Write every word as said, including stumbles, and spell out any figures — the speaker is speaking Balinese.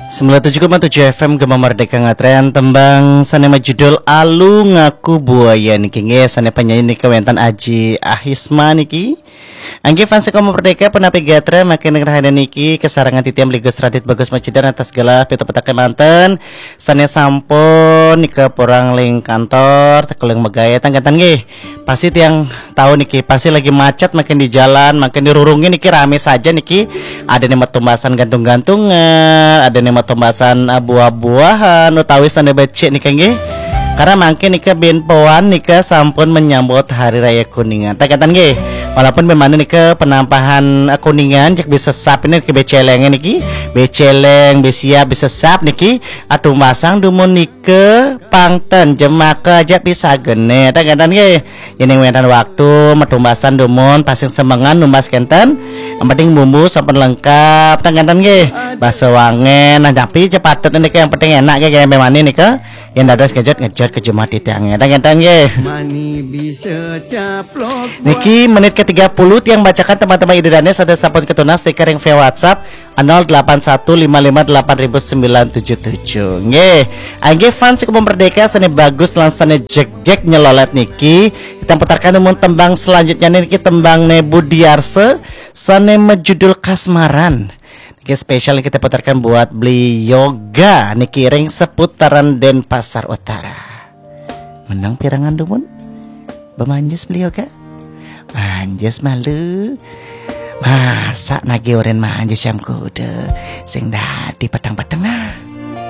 Sembilan tujuh koma tujuh F M Gema Merdeka ngatren tembang sane majudul Alu Ngaku Buaya niki nggih, sane penyanyi niki wenten Aji Ahisma niki. Angge fans Gema Merdeka, punapi gatra makin ngrahane niki kesarengan titiang Bligus Radit Bagus Macidan atas segala pita petake manten sane sampun nika purang ling kantor, tekeling megawe tangkatan nggih. Pasti tiang tahu niki, pasti lagi macet makin di jalan, makin dirurungin niki rame saja niki. Ada nih matumbasan gantung-gantungan, ada nih matumbasan eh, buah-buahan, utawi sane becik nika nggih. Karena mangkin nika bin poan nika sampun menyambut hari raya Kuningan. Tangkatan nggih. Walaupun memang nika penampahan eh, Kuningan cek bisa sap ini ke beceleng niki, beceleng, besiap, bisa sap niki. Atumbasan dumun nika pangten jemaka aja pisagene. Tangkatan nggih. Yen wenten waktu matumbasan dumun pasing semengan numbas kenten. Yang penting bumbu sampun lengkap, tangkatan nggih. Basa wangen, nah tapi cepatut nika yang penting enak nggih, kayak memane nika. Yang dados ngejot-ngejot ke jumah titange, tangkatan nggih. Mani bisa caplok. Niki menit ke tiga puluh tiang bacakan teman-teman idedane sada sampun ketunas stiker yang via WhatsApp nol delapan satu lima lima delapan ribu sembilan tujuh tujuh. Nggih. Nggih fans Gema Merdeka sane bagus lan sane jegek nyelolet niki. Kita putarkan umum tembang selanjutnya niki tembang Nebu Diarse sane majudul Kasmaran. Niki spesial kita putarkan buat Beli Yoga niki ring seputaran Denpasar Utara. Menang pirangan dumun? Bemanjes Beli Yoga? Manjes malu. Masak nagi oren manjes jam kuda. Sing dadi petang-petang nah.